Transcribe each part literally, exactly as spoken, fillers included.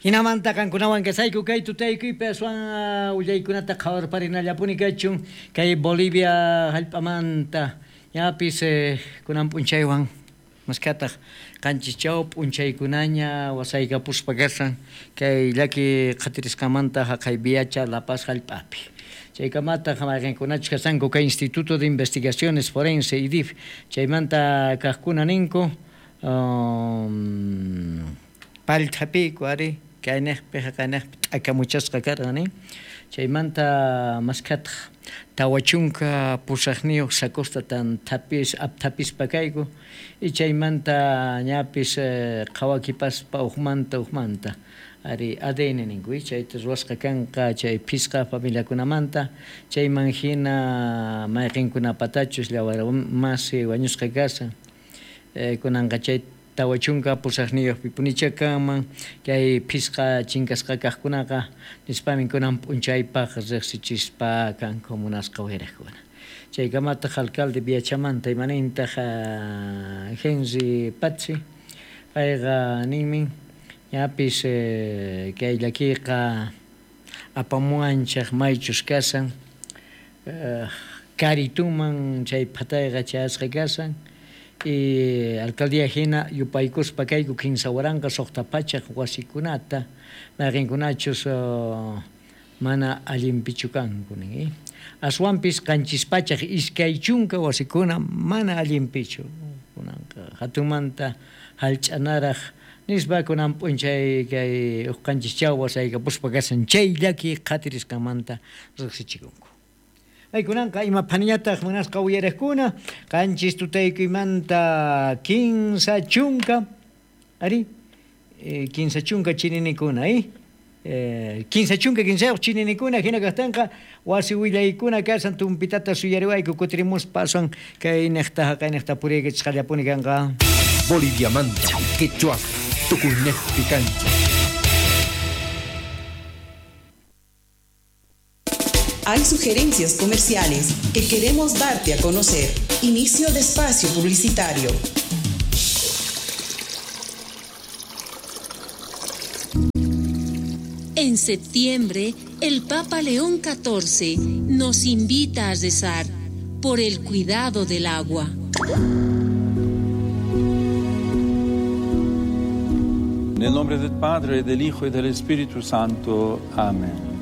Hinamanta qankunawan kasayku kay tutaykuypi aswan willaykunata qhawarparinallapuni kachun kay Bolivia hallp'amanta ñapis kunan p'unchaywan maskataq qanchis chaw p'unchaykunaña wasaykapuspa kasan kay llaki qhatirisqamanta haqay Viacha La Paz hallp'api. Chaykamataq mayqinkunachus kasanku kay Instituto de Investigaciones Forense I D I F chaymanta kaqkuna ninku um, pallthapiku ari kaynejpi haqaynejpi t'akamuchasqa karqa nin chaymanta maskataq tawa chunka pusaqniyuq sacosta tan thapis apthapispa kayku y chaymanta ñapis qhawakipaspa uqmanta uqmanta ari A D N ninku chayta ruwasqa kanqa chay phisqa familiakunamanta chayman hina mayqinkunapatachus llawar masi wañusqa kasan kunanqa chay tawa chunka pusaqniyuqpi punicha kanman kay phisqa chinkasqa kaqkunaqa nispamin kunan p'unchaypaq riqsichispa kanku munasqa wiraqkuna. Chaykamataq alcalde Viachamanta imanintaq Henry Patzi payqa ninmin ñapis kay llakiqa apamuwanchaq maychus kasan karituman chay phatayqa chayasqa kasan y alcaldía hina yupaykuspa kayku kinsa waranqa suqta pachaq wasikunata mayqinkunachus mana allinpichu kanku nin aswanpis qanchis pachaq iskay chunka wasikuna mana allinpichu kunanqa hatunmanta hallch'anaraq nispa kunan p'unchay kay uq qanchis chaw wasaykapuspa kasan chay llaki qhatirisqanmanta riqsichikunku. Aykunanqa ima phaniñataq munasqa uyariqkuna qanchis tutaykuymanta kinsa chunka ari kinsa chunka chininikuna eh kinsa chunka kinsayuq chininikuna hina kaqtinqa wasi willaykuna kasan tumpitata suyariwayku kutirimuspa aswan kay niqta haqay niqta puriykichisqallapuni kanqa. Boliviamanta quechua tukuynejpi kancha. Hay sugerencias comerciales que queremos darte a conocer. Inicio de espacio publicitario. En septiembre, el Papa León catorce nos invita a rezar por el cuidado del agua. En el nombre del Padre, del Hijo y del Espíritu Santo. Amén.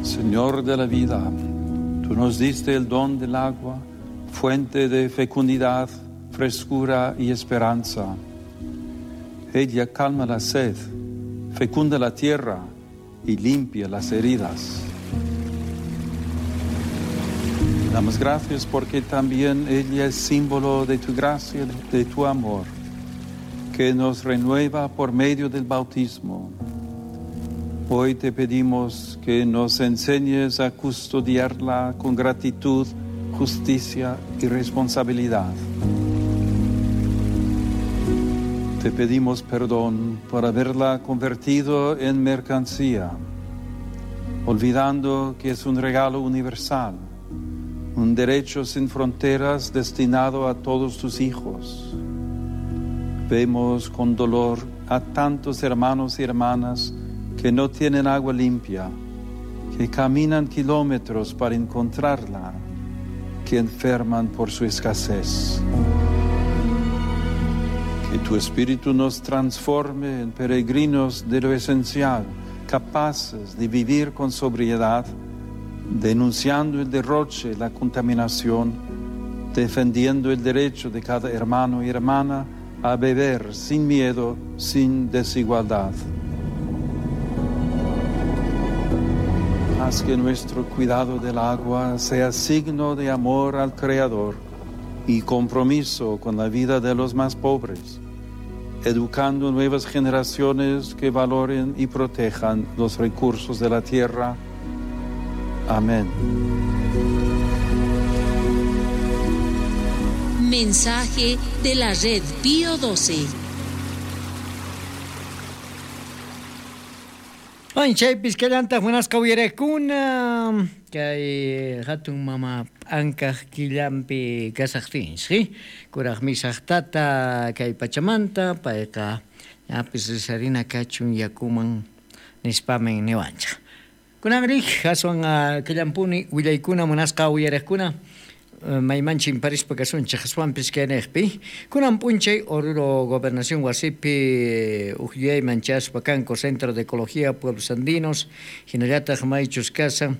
Señor de la vida, tú nos diste el don del agua, fuente de fecundidad, frescura y esperanza. Ella calma la sed, fecunda la tierra y limpia las heridas. Te damos gracias porque también ella es símbolo de tu gracia, de tu amor, que nos renueva por medio del bautismo. Hoy te pedimos que nos enseñes a custodiarla con gratitud, justicia y responsabilidad. Te pedimos perdón por haberla convertido en mercancía, olvidando que es un regalo universal, un derecho sin fronteras destinado a todos tus hijos. Vemos con dolor a tantos hermanos y hermanas que no tienen agua limpia, que caminan kilómetros para encontrarla, que enferman por su escasez. Que tu Espíritu nos transforme en peregrinos de lo esencial, capaces de vivir con sobriedad, denunciando el derroche, la contaminación, defendiendo el derecho de cada hermano y hermana a beber sin miedo, sin desigualdad. Haz que nuestro cuidado del agua sea signo de amor al Creador y compromiso con la vida de los más pobres, educando nuevas generaciones que valoren y protejan los recursos de la tierra. Amén. Mensaje de la Red Pío doce. Bueno, chaypis kallantaq munasqa uyarakuna kay hatun mama p'ankaq killanpi kasaqtinchik, kuraq misaqtata kay pachamanta payqa ñapis risarina kachun yakuman nispamin niwanchik. Kunanrik aswan kallampuni willaykuna munasqa uyarakuna maymanchin parispa kasunchik aswanpis kayniqpi kunan p'unchay Oruro Gobernación wasipi uqyayman chaspa kanku Centro de Ecología Pueblos Andinos hinallataq maychus kasan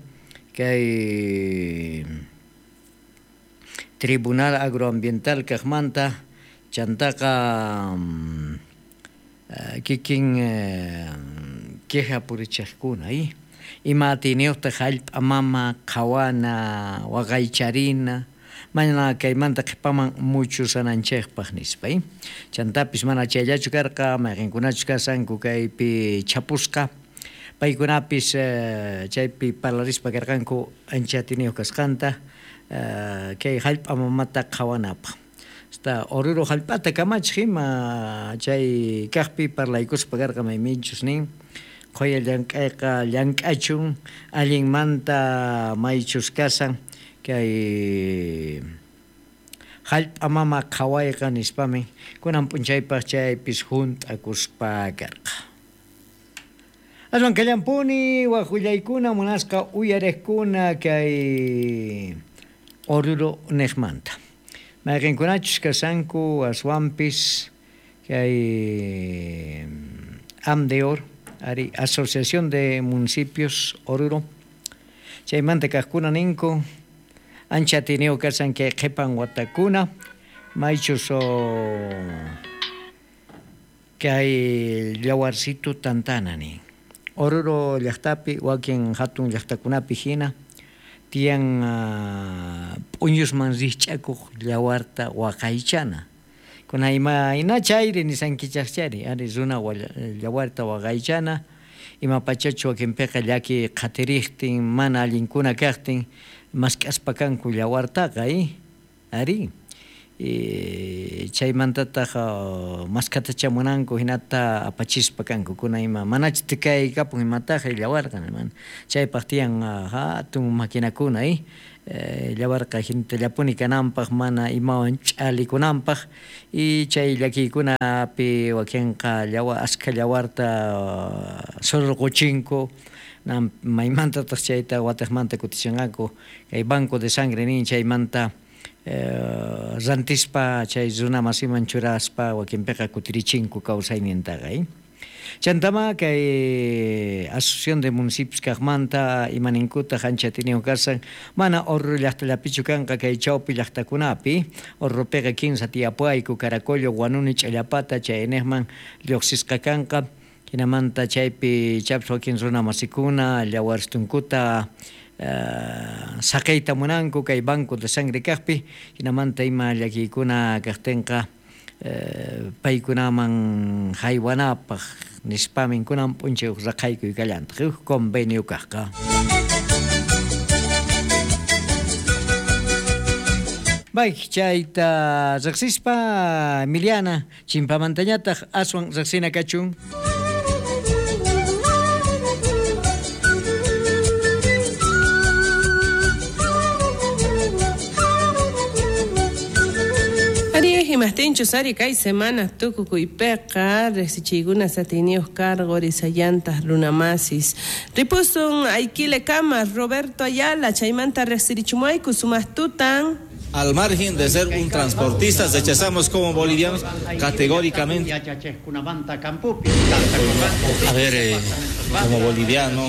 kay Tribunal Agroambiental kaqmanta chantaqa kikin queja purichiqkuna ima atiyniyuqtaq hallp'a mama qhawana waqaycharina mana kaymanta qhipaman muchusananchikpaq nispa. Chantapis mana chayllachu karqa mayqinkunachus kasanku kaypi chapusqa paykunapis chaypi parlarispa karqanku ancha atiyniyuq kasqanta kay hallp'a mamata qhawanapaq. Hasta Oruro hallp'ata kamachiq ima chay kaqpi parlaykuspa karqa mayminchus nin qhuya llank'ayqa llank'achun allinmanta maychus kasan kay hallp'a mama qhawayqa nispami kunan p'unchaypaq chaypis hunt'akuspa karqa. Aswan kallampuni waq willaykuna munasqa uyariqkuna kay Oruro niqmanta. Mayqinkunachus kasanku aswanpis kay AMDEOR ari Asociación de Municipios Oruro chaymanta kaqkuna ninku ancha atiyniyuq kasan kay qhipan watakuna maychus kay llawarsitu tantana nin Oruro llaqtapi wakin hatun llaqtakunapi hina tiyan p'uñusman rikch'akuq llawarta waqaychana kuna ima ina chayri nisankichaqchari ari runa llawarta waqaychana ima pachachu wakinpiqa llaki qhatiriqtin mana allinkuna kaqtin mask'aspa kanku llawartaqa ari chaymantataq mask'atacha munanku hinata apachispa kanku kuna ima manachu tikaykapun imataq llawarqa chaypaq tiyan hatun maquinakuna llawarqa hinatallapuni kananpaq mana imawan ch'alikunanpaq y chay llakiykunapi wakinqa llawa askha llawarta surquchinku maymantataq chayta watiqmanta kutichinqanku kay banco de sangre nin chaymanta rantispa chay runa masiman churaspa wakinpiqa kutirichinku kawsaynintaqa. Chantama kay Asociación de Municipios kaqmanta imaninkutaq ancha atiyniyuq kasan mana Oruro llaqtallapichu kanqa kay chawpi llaqtakunapi Oruropiqa kinsa tiyapuayku Caracollo, Huanuni, Ch'allapata chayniqman lluqsisqa kanqa hinamanta chaypi chapis wakin runa masikuna llawarstunkuta saqiyta munanku kay banco de sangre kaqpi hinamanta ima llakiykuna kaqtinqa paykunaman haywanapaq nispamin kunan p'unchay huk raqaykuy kallantaq huk convenio kaqqa. Bay chayta riqsispa Emiliana chimpamantañataq aswan riqsina kachun. Imajtinchus ari kay semana tukukuypiqa riqsichiykuna atiyniyuq cargo risayantas runamasis ripusun Aiquilekama Roberto Ayala chaymanta riqsirichumuayku sumaqtutan. Al margen de ser un transportista, rechazamos como bolivianos categóricamente. A ver, eh, como boliviano.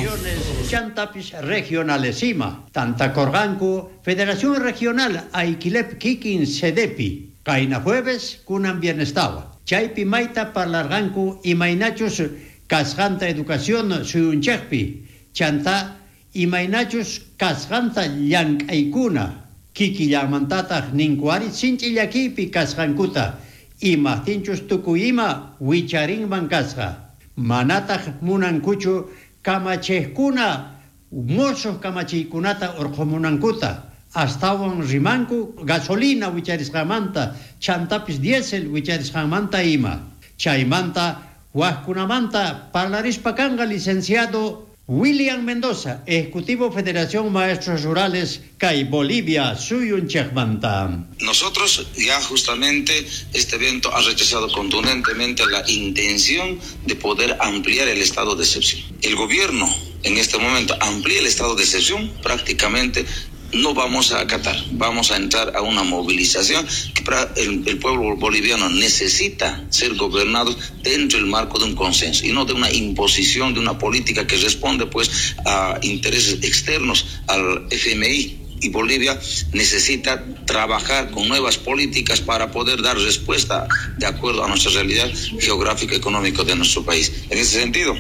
Regionalesima, Tantacorganco, Federación Regional Aiquilep Kikin Sedepi. Kaina jueves, kunan bienestawa. Chaypi mayta parlarganku imaynachus kasqanta educación suyunchikpi. Chanta imaynachus kasqanta llank'aykuna. Kikillamantataq ninkuari sinchi llakipi kasqankuta. Imajtinchus tukuy ima wicharinman kasqa. Manataq munankuchu kamachiqkuna mosuq kamachiykunata urqumunankuta. Astawan rimanku gasolina wicharisqamanta, chantapis diésel wicharisqamanta ima. Chaymanta Wajkunamanta parlarispa kanqa licenciado William Mendoza, Ejecutivo Federación Maestros Rurales, kay Bolivia, suyunchejmanta. Nosotros ya justamente este evento ha rechazado contundentemente la intención de poder ampliar el estado de excepción. El gobierno en este momento amplía el estado de excepción, prácticamente no vamos a acatar, vamos a entrar a una movilización que para el, el pueblo boliviano necesita ser gobernado dentro del marco de un consenso y no de una imposición de una política que responde pues a intereses externos al F M I. Y Bolivia necesita trabajar con nuevas políticas para poder dar respuesta de acuerdo a nuestra realidad geográfica y económica de nuestro país. En ese sentido,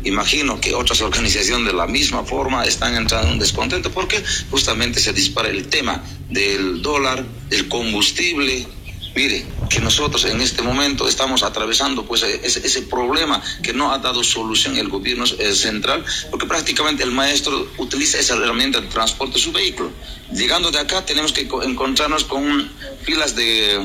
imagino que otras organizaciones de la misma forma están entrando en un descontento porque justamente se dispara el tema del dólar, del combustible. Mire, que nosotros en este momento estamos atravesando pues ese, ese problema que no ha dado solución el gobierno central, porque prácticamente el maestro utiliza esa herramienta de transporte de su vehículo. Llegando de acá tenemos que encontrarnos con filas de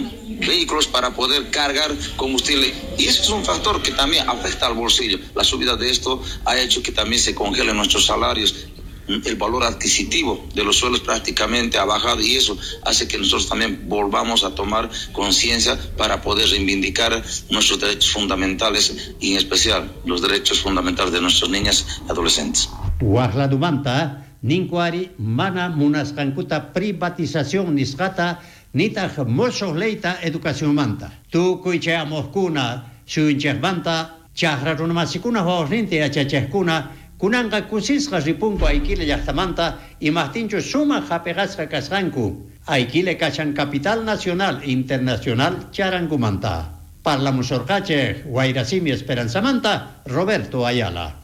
vehículos para poder cargar combustible, y eso es un factor que también afecta al bolsillo. La subida de esto ha hecho que también se congelen nuestros salarios. El valor adquisitivo de los suelos prácticamente ha bajado, y eso hace que nosotros también volvamos a tomar conciencia para poder reivindicar nuestros derechos fundamentales y en especial los derechos fundamentales de nuestras niñas y adolescentes. Wajladumanta, ninkuari mana munasqankuta privatización nisqata nitaq mosoq leyta educacionmanta. Tukuy chayamuqkuna suyunchikmanta chaqra runamasikuna wawasninta yachachaqkuna kunanqa kusisqa ripunku Aiquile llaqtamanta imaqtinchu sumaq hapiqasqa kasqanku. Aiquile kashan capital nacional internacional charankumanta. Parlamusorqachej Wayrasimi Esperanzamanta, Roberto Ayala.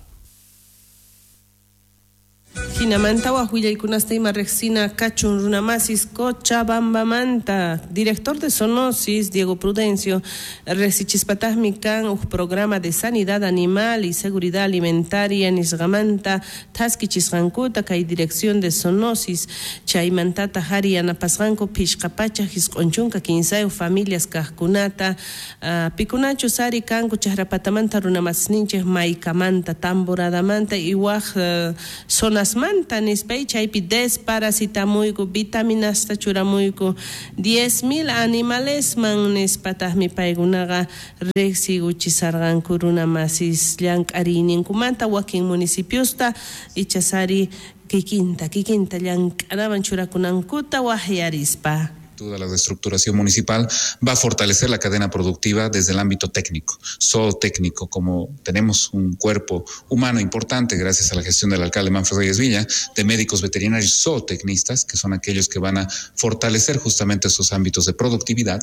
Jinamanta wajwillaykunasta ima riqsina kachun runamasis Cochabambamanta. Director de Zoonosis, Diego Prudencio, riqsichispataqmi kan uj programa de sanidad animal y seguridad alimentaria nisqamanta thaskichisqankuta kay dirección de Zoonosis chaymantata hari yanapasqanku phishqa pachaq isq'un chunka kinsayuq familias kaqkunata uh, pikunachus ari kanku chaqrapatamanta runamasninchik maykamanta tamboradamanta y waj uh, zonas manta nispay chaypi desparasitamuyku vitaminasta churamuyku diez mil animalesman nispataqmi paykunaqa riqsiguchisarqanku runamasis llank'ariyninkumanta wakin municipiosta ichasari kikinta kikinta llank'anaman churakunankuta waqyarispa. Toda la reestructuración municipal va a fortalecer la cadena productiva desde el ámbito técnico, zootécnico, como tenemos un cuerpo humano importante gracias a la gestión del alcalde Manfred Reyes Villa, de médicos veterinarios zootecnistas, que son aquellos que van a fortalecer justamente esos ámbitos de productividad,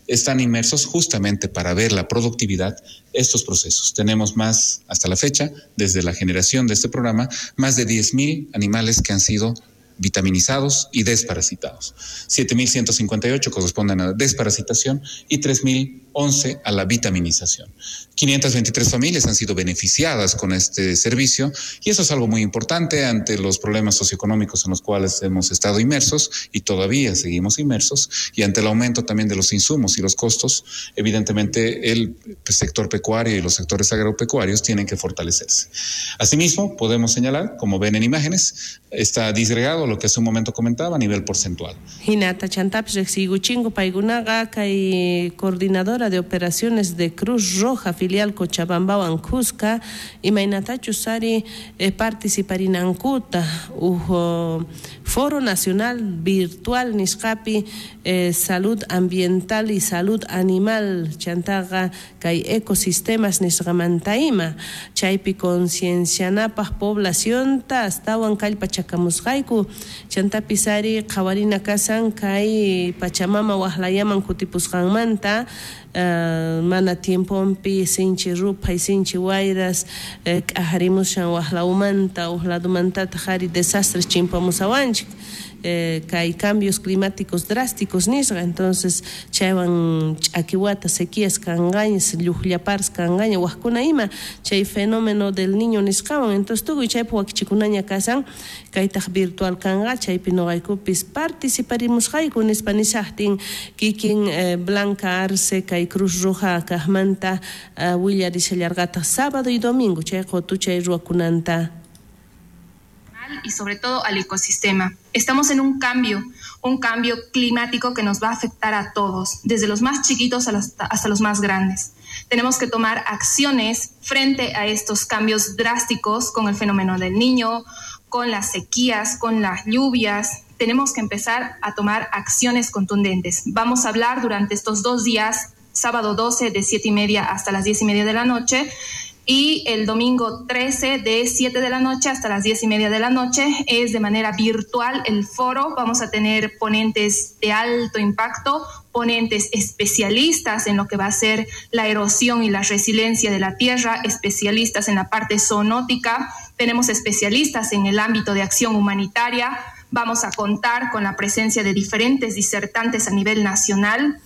están inmersos justamente para ver la productividad estos procesos. Tenemos más, hasta la fecha, desde la generación de este programa, más de diez mil animales que han sido vitaminizados y desparasitados. siete mil ciento cincuenta y ocho corresponden a la desparasitación y tres mil once a la vitaminización. quinientas veintitrés familias han sido beneficiadas con este servicio y eso es algo muy importante ante los problemas socioeconómicos en los cuales hemos estado inmersos y todavía seguimos inmersos, y ante el aumento también de los insumos y los costos, evidentemente el sector pecuario y los sectores agropecuarios tienen que fortalecerse. Asimismo, podemos señalar, como ven en imágenes, está disgregado lo que hace un momento comentaba a nivel porcentual. Hinata chantapis riqsiykuchingu paykunaqa kay coordinadora de operaciones de Cruz Roja filial Cochabambawan Cusca imaynatachus ari eh, participarinankuta uj Foro Nacional Virtual nisqapi eh, Salud Ambiental y Salud Animal chantaqa kay ecosistemas nisqamanta ima chaypi conciencianapaq poblacionta astawan kallpachakamusqayku chantapis ari qhawarina kasan kay Pachamama waqlayaman kutipusqanmanta Uh, mana tiempompi sinchi ruphay sinchi wayras eh, k'ajarimushan waqlawmanta uqladumantataq ari desastres chimpamusawanchik eh, kay cambios climáticos drásticos nisqa, entonces chaywan ch'akiwata sequías kanqaña, lluqllapars kanqaña, wajkuna ima chay fenómeno del niño nisqawan, entonces tukuy chaypi wakichikunaña kasan, kaytaq virtual kanqa, chaypi noqaykupis participarimusqayku nispa nisaqtin kikin eh, Blanca Arce kay Cruz Roja kaqmanta uh, willarishallarqataq sábado y domingo chay qotuchay ruwakunanta. Y sobre todo al ecosistema. Estamos en un cambio, un cambio climático que nos va a afectar a todos, desde los más chiquitos hasta los más grandes. Tenemos que tomar acciones frente a estos cambios drásticos con el fenómeno del niño, con las sequías, con las lluvias. Tenemos que empezar a tomar acciones contundentes. Vamos a hablar durante estos dos días, sábado doce de siete y media hasta las diez y media de la noche, y el domingo trece de siete de la noche hasta las diez y media de la noche. Es de manera virtual el foro. Vamos a tener ponentes de alto impacto, ponentes especialistas en lo que va a ser la erosión y la resiliencia de la tierra, especialistas en la parte zoonótica, tenemos especialistas en el ámbito de acción humanitaria. Vamos a contar con la presencia de diferentes disertantes a nivel nacional.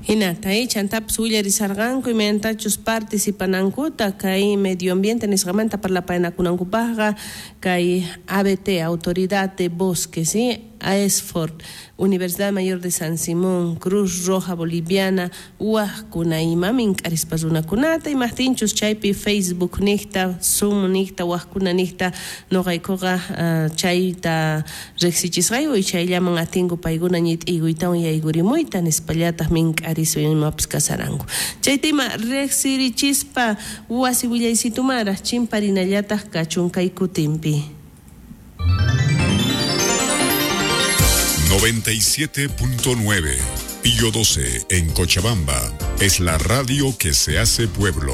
Hinata, chantapis willarisarqanku imaynatachus participanankuta kay medio ambiente nisqamanta parlapaynakunankupaqqa kay A B T, Autoridad de Bosques, ¿sí? AESFORT, Universidad Mayor de San Simón, Cruz Roja Boliviana, wajkuna ima mink'arispa runakunata imajtinchus chaypi Facebook niqta, Zoom niqta, wajkuna niqta noqaykuqa uh, chayta riqsichisqayku y chayllaman atinku paykuna ñit'iykuytawan yaykurimuyta nispallataq mink'arispa imapis kasaranku. Chayta ima riqsirichispa wasi willaysitumara chimparinallataq kachun kay kutinpi. noventa y siete punto nueve, Pío doce en Cochabamba, es la radio que se hace pueblo.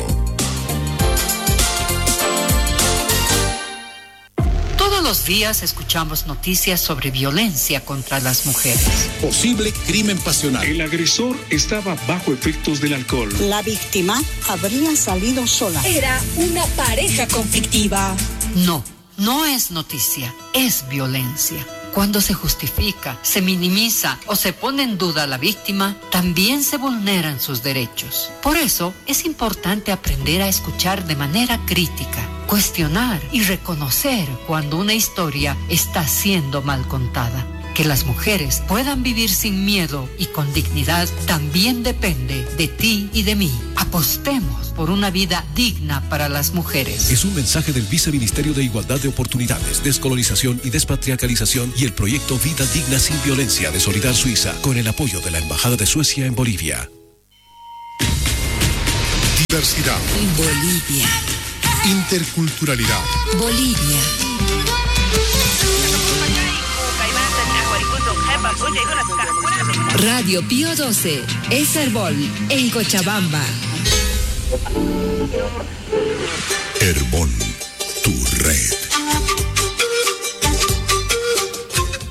Todos los días escuchamos noticias sobre violencia contra las mujeres. Posible crimen pasional. El agresor estaba bajo efectos del alcohol. La víctima habría salido sola. Era una pareja conflictiva. No, no es noticia, es violencia. Cuando se justifica, se minimiza o se pone en duda a la víctima, también se vulneran sus derechos. Por eso es importante aprender a escuchar de manera crítica, cuestionar y reconocer cuando una historia está siendo mal contada. Que las mujeres puedan vivir sin miedo y con dignidad también depende de ti y de mí. Apostemos por una vida digna para las mujeres. Es un mensaje del Viceministerio de Igualdad de Oportunidades, Descolonización y Despatriarcalización y el proyecto Vida Digna Sin Violencia de Solidar Suiza, con el apoyo de la Embajada de Suecia en Bolivia. Diversidad. Bolivia. Interculturalidad. Bolivia. Radio Pío doce, es Herbol, en Cochabamba. Herbol, tu red.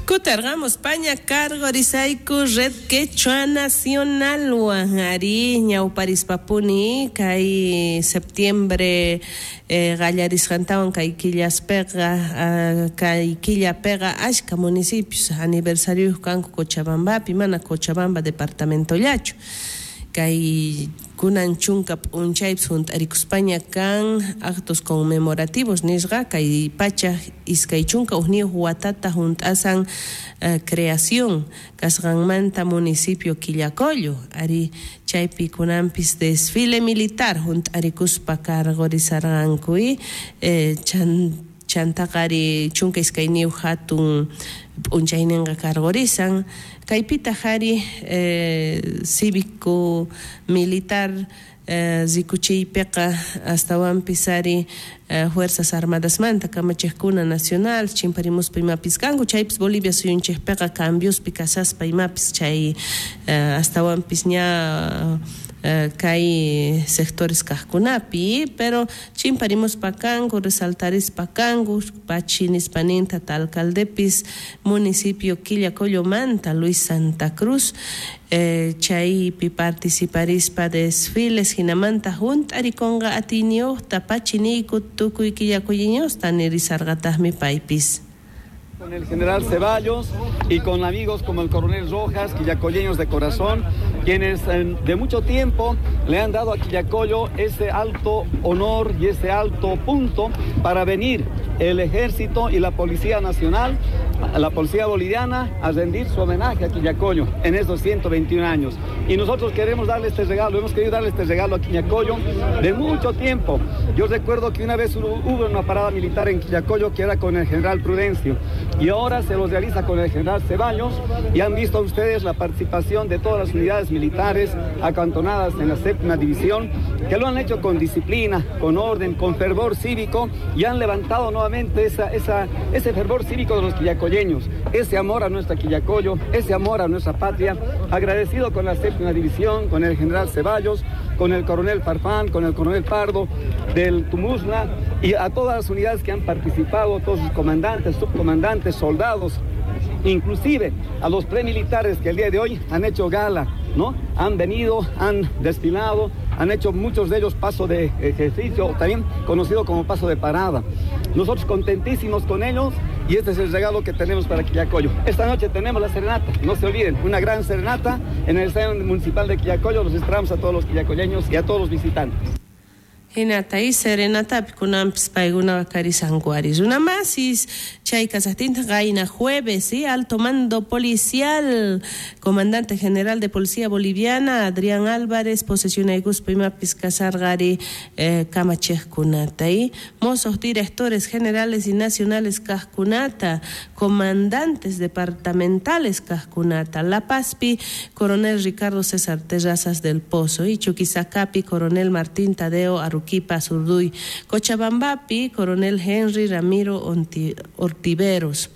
Kutargamos Paña cargo risaiku Red Quechua Nacional ari ñawparispapuni kay septiembre eh, qallarisqantawan kay killaspeqa uh, kay killapeqa ashka municipios aniversarios kanku Cochabambapi mana Cochabamba departamentollachu kay kunan chunka p'unchaypis hunt'arikuspaña kan actos conmemorativos nisqa kay pacha iskay chunka hukniyuq watata hunt'asan uh, creación kasqanmanta municipio Quillacollo ari chaypi kunanpis desfile militar hunt'arikuspa cargorizarqanku eh, chan chantaqari chunka iskayniyuq hatun p'unchayninqa cargorizan kaypitaq ari eh, cívico militar eh, rikuchiypiqa astawanpis ari eh, Fuerzas Armadasmanta kamachiqkuna nacional chimparimuspa imapis kanku chaypis Bolivia suyunchikpiqa cambiospi kasaspa imapis chay eh, astawanpis ña Uh, kay sectores kaqkunapi pero chimparimuspa kanku resaltarispa kanku pachinispaninta alcaldepis municipio Quillacollomanta Luis Santa Cruz eh, chaypi participarispa desfiles hinamanta hunt'arikunqa atiyniyuqta pachiniyku tukuy Quillacolliñusta nirisarqataqmi paypis. Con el general Ceballos y con amigos como el coronel Rojas, quillacolleños de corazón, quienes de mucho tiempo le han dado a Quillacollo ese alto honor y ese alto punto para venir el ejército y la Policía Nacional, la Policía Boliviana, a rendir su homenaje a Quillacollo en estos ciento veintiún años. Y nosotros queremos darle este regalo, hemos querido darle este regalo a Quillacollo de mucho tiempo. Yo recuerdo que una vez hubo una parada militar en Quillacollo que era con el general Prudencio, y ahora se los realiza con el general Ceballos, y han visto ustedes la participación de todas las unidades militares acantonadas en la séptima división, que lo han hecho con disciplina, con orden, con fervor cívico, y han levantado nuevamente esa, esa, ese fervor cívico de los quillacolleños, ese amor a nuestra Quillacollo, ese amor a nuestra patria. Agradecido con la séptima división, con el general Ceballos, con el coronel Farfán, con el coronel Pardo del Tumusna, y a todas las unidades que han participado, todos sus comandantes, subcomandantes, soldados, inclusive a los premilitares que el día de hoy han hecho gala, ¿no? Han venido, han desfilado, han hecho muchos de ellos paso de ejercicio, también conocido como paso de parada. Nosotros contentísimos con ellos, y este es el regalo que tenemos para Quillacollo. Esta noche tenemos la serenata, no se olviden, una gran serenata en el Estadio Municipal de Quillacollo. Los esperamos a todos los quillacolleños y a todos los visitantes. Hinata y serenata kunanpis paykuna karisankuari runamasis chay kasaqtinta qayna jueves, ¿sí? Alto mando policial, comandante general de Policía Boliviana Adrián Álvarez posesionaykuspa imapis kasarqari eh, kamachejkunata y mozos directores generales y nacionales kajkunata, comandantes departamentales kajkunata, La Pazpi coronel Ricardo César Terrazas del Pozo y Chuquisacapi coronel Martín Tadeo Arru Quipa Zurduy, Cochabambapi, coronel Henry Ramiro Onti, Ortiveros,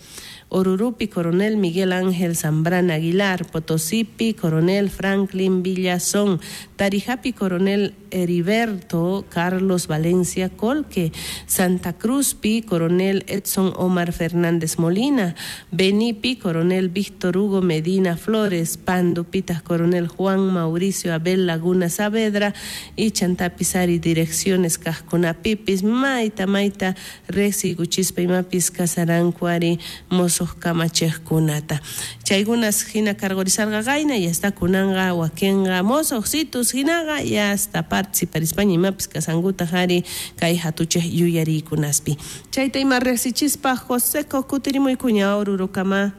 Orurupi, coronel Miguel Ángel Zambrana Aguilar, Potosipi, coronel Franklin Villazón, Tarijapi, coronel Heriberto Carlos Valencia Colque, Santa Cruzpi, coronel Edson Omar Fernández Molina, Benipi, coronel Víctor Hugo Medina Flores, Pandupitas, coronel Juan Mauricio Abel Laguna Saavedra, y Chantapizari, direcciones Casconapipis, Maita, Maita, Rexi, Guchispa y Mapis, Casarancuari, Mozos Kamachejkunata. Chaygunas hina cargorizarga gaina, ya está kunanga, wakenga, mozojsitus hinaga, ya hasta participar España y mapis kasanguta jari kay hatuche yuyarikunaspi. Chayta ima resichispa José Cocutirimuy cuña orurukama.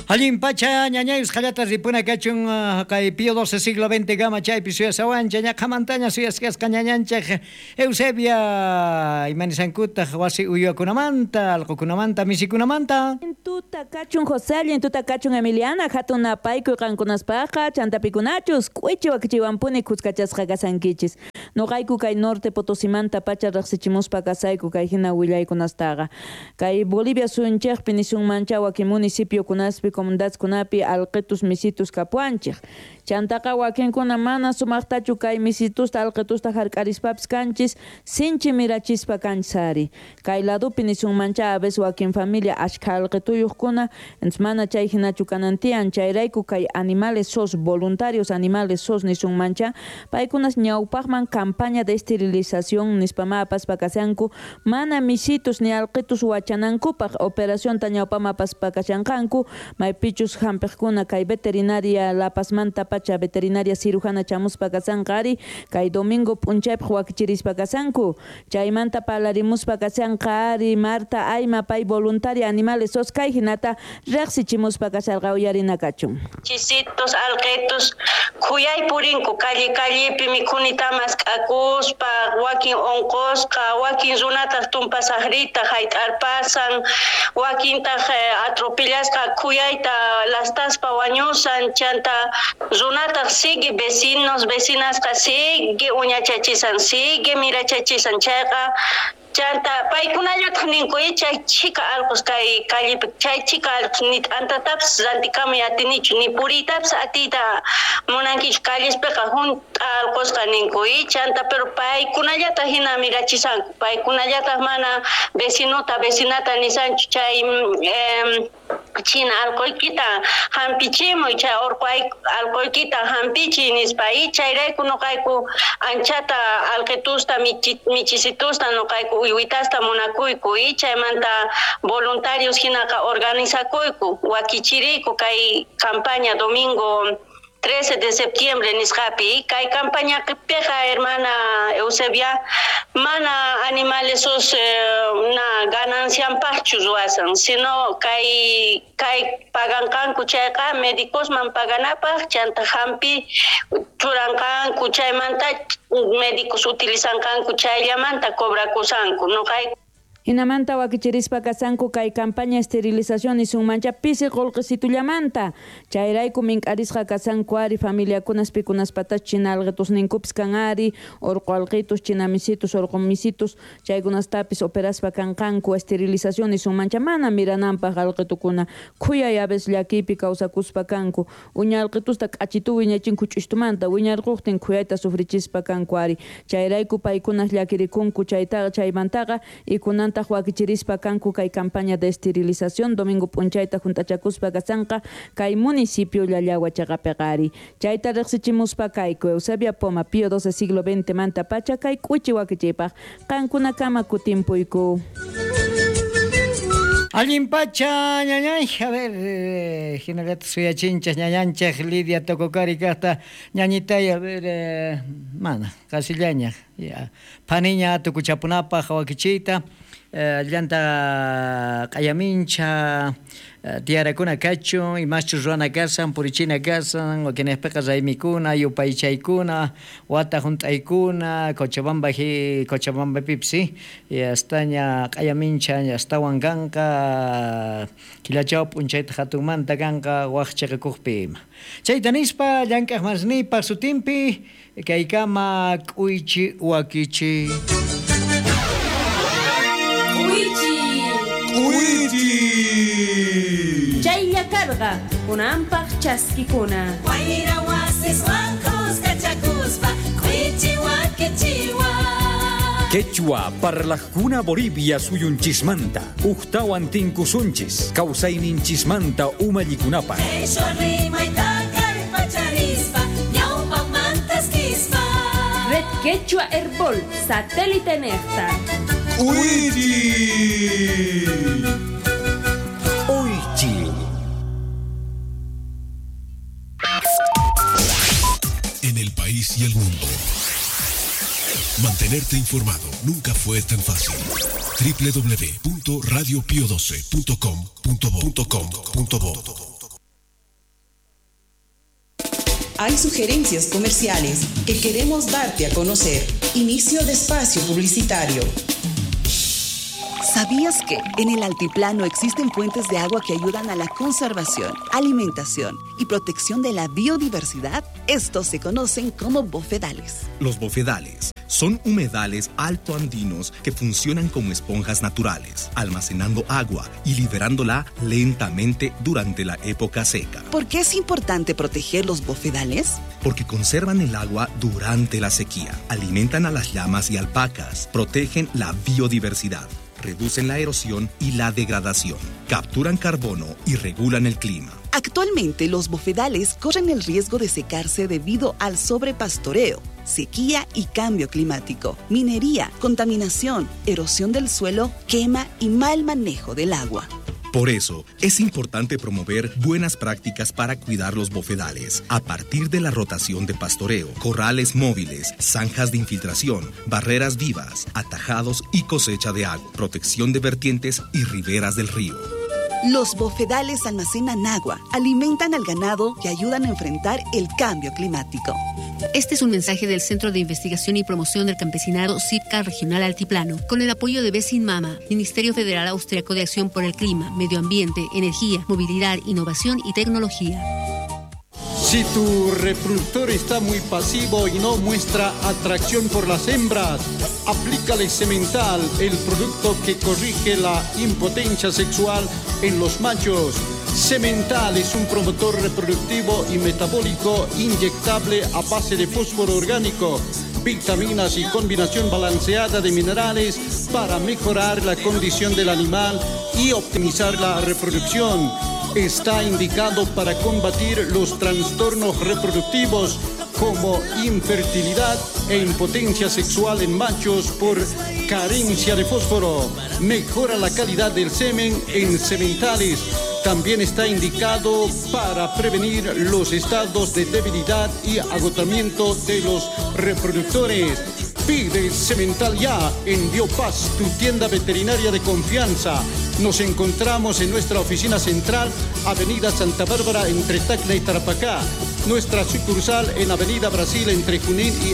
Allin pacha ñañayus qallata ripuna kachun kay Pío doce siglo veinte gama chaypi suyasawancha ñaqhamantaña suyasqasqa ñañanchej Eusebia imanisankutaq wasi uywakunamanta allqukunamanta misikunamanta. Tuta kachun José, allin tuta kachun Emiliana, hatun napaykuy qankunaspaqa chantapikunachus k'uichi wakichiwanpuni khuskachasqa kasankichis. Noqayku kay norte Potosimanta pacha riqsichimuspa kasayku kay hina willaykunastaqa. Kay Bolivia suyunchikpi nisunmancha wakin municipiokunaspi comunidadkunapi alqitus misitus kapuanchik. Chantaqa wakinkuna mana sumaqtachu kay misitusta alqitusta hark'arispapis kanchis sinchi mirachispa kanchis ari. Kay ladupi nisunmancha a veces wakin familia ashkha alqituyuqkuna mana chay hinachu kanantian chayrayku kay animales sos voluntarios animales sos nisunmancha paykunas ñawpaqman campaña de esterilización nispama apaspa kashanku mana misitus ni alqitus wachanankupaq operación ta ñawpama apaspa kashanqanku maypichus hampiqkuna kay veterinaria La Pazmanta pacha veterinaria cirujana chamuspa kasanqa ari kay domingo p'unchaypaq wakichirispa kasanku chaymanta parlarimuspa kasanqa ari Marta Ayma pay voluntaria animales sos kay hinata riqsichimuspa kasharqa uyarina kachun. Chisitos alqitus khuyay purinku calle callepi mikhunitamas k'akuspa wakin unqusqa wakin runataq tumpasaqrita hayt'arpasan wakintaq atropellasqa khuyayta lastaspa wañusan chanta runataq sigue vecinos vecinasqa sigue uñachachisan sigue mirachachisan chayqa chanta paykunallataq ninku chay chika allqus kay callepi chay chika allqus ni t'antatapis rantikamuy atinichu ni puriytapis atiyta munankichu callespiqa junt'a allqusqa ninku chanta pero paykunallataq hina mirachisanku paykunallataq mana vecinota vecinata nisanchu chay eh, China alqoykita hampichimuy chay orqo alqoykita hampichi nispa y chayrayku noqayku anchata alqitusta michisitusta noqayku uywitasta munakuyku y chaymanta voluntarios hinaqa organizakuyku wakichiriyku kay campaña domingo trece de septiembre nisqapi kay campaña piqa hermana Eusebia mana animales sus eh, na ganancianpaqchu ruwasan sino kay kay paganqanku chayqa médicosman paganapaq chanta hampi churanqanku chaymanta médicos utilizanqanku chayllamanta cobrakusanku noqay. Hinamanta wakichirispa kasanku kay campaña esterilización nisunmancha pisi qullqisitullamanta chayrayku mink'arisqa kasanku ari familiakunas pikunaspatach china alqitusninkupis kan ari orqo alqitus chinamisitus orqo misitus chaykunastapis operaspa kanqanku esterilización nisunmancha mana mirananpaq alqitukuna khuyay a veces llakiypi kawsakuspa kanku uña alqitusta k'achitu wiñachinku ch'ustumanta wiñarquqtin khuyayta sufrichispa kanku ari chayrayku paykunas llakirikunku chaytaqa chaymantaqa ikunanta wakichirispa kanku kay campaña de esterilización domingo p'unchayta juntachakuspa kasanqa kay municipio Llallagua chaqapiqa chayta riqsichimuspa kayku Eusebia Poma Pío doce siglo veinte manta pacha kay k'uchi wakichipaq qankunakama kutimpuyku. Allin pacha ñañay, a ver, eh, hinallataq suyachinchas ñañanchaj Lidia Tococari kaqta ñañitay, a ver, eh, mana, qasillaña, ya, phaniña tukuchapunapaq wakichiyta, eh, llanta q'ayamincha, eh, tiyarakuna kachun, imachus ruwana kasan, purichina kasan, wakinejpiqa raymikuna, yupaychaykuna, wata hunt'aykuna, Cochabamba hi, Cochabambapipis, sí, y astaña q'ayamincha, astawan kanqa, killachaw p'unchayta hatunmanta kanqa waq chiqikuqpi ima. Chayta nispa llank'aq masnipaq sutinpi kaykama k'uychi wakichi. K'uychi. K'uychi. Chaylla karqa kunanpaq chaskikuna. Wayra wasiswan kuskachakuspa k'uychi wakichiwa. Quechua parlajkuna Bolivia suyunchismanta uqtawan tinkusunchis kawsayninchismanta umallikunapaq. Red Quechua Herbol satélite nefta. Uychi. Uychi. En el país y el mundo. Mantenerte informado nunca fue tan fácil. doble u doble u doble u punto radio pio doce punto com punto bo punto com punto bo. Hay sugerencias comerciales que queremos darte a conocer. Inicio de espacio publicitario. ¿Sabías que en el altiplano existen fuentes de agua que ayudan a la conservación, alimentación y protección de la biodiversidad? Estos se conocen como bofedales. Los bofedales son humedales altoandinos que funcionan como esponjas naturales, almacenando agua y liberándola lentamente durante la época seca. ¿Por qué es importante proteger los bofedales? Porque conservan el agua durante la sequía, alimentan a las llamas y alpacas, protegen la biodiversidad, reducen la erosión y la degradación, capturan carbono y regulan el clima. Actualmente, los bofedales corren el riesgo de secarse debido al sobrepastoreo, sequía y cambio climático, minería, contaminación, erosión del suelo, quema y mal manejo del agua. Por eso, es importante promover buenas prácticas para cuidar los bofedales, a partir de la rotación de pastoreo, corrales móviles, zanjas de infiltración, barreras vivas, atajados y cosecha de agua, protección de vertientes y riberas del río. Los bofedales almacenan agua, alimentan al ganado y ayudan a enfrentar el cambio climático. Este es un mensaje del Centro de Investigación y Promoción del Campesinado CIPCA Regional Altiplano, con el apoyo de Besin Mama, Ministerio Federal Austriaco de Acción por el Clima, Medio Ambiente, Energía, Movilidad, Innovación y Tecnología. Si tu reproductor está muy pasivo y no muestra atracción por las hembras, aplícale Semental, el producto que corrige la impotencia sexual en los machos. Semental es un promotor reproductivo y metabólico inyectable a base de fósforo orgánico, vitaminas y combinación balanceada de minerales para mejorar la condición del animal y optimizar la reproducción. Está indicado para combatir los trastornos reproductivos como infertilidad e impotencia sexual en machos por carencia de fósforo. Mejora la calidad del semen en sementales. También está indicado para prevenir los estados de debilidad y agotamiento de los reproductores. Pide Semental ya en Biopaz, tu tienda veterinaria de confianza. Nos encontramos en nuestra oficina central, Avenida Santa Bárbara, entre Tacna y Tarapacá. Nuestra sucursal en Avenida Brasil, entre Junín y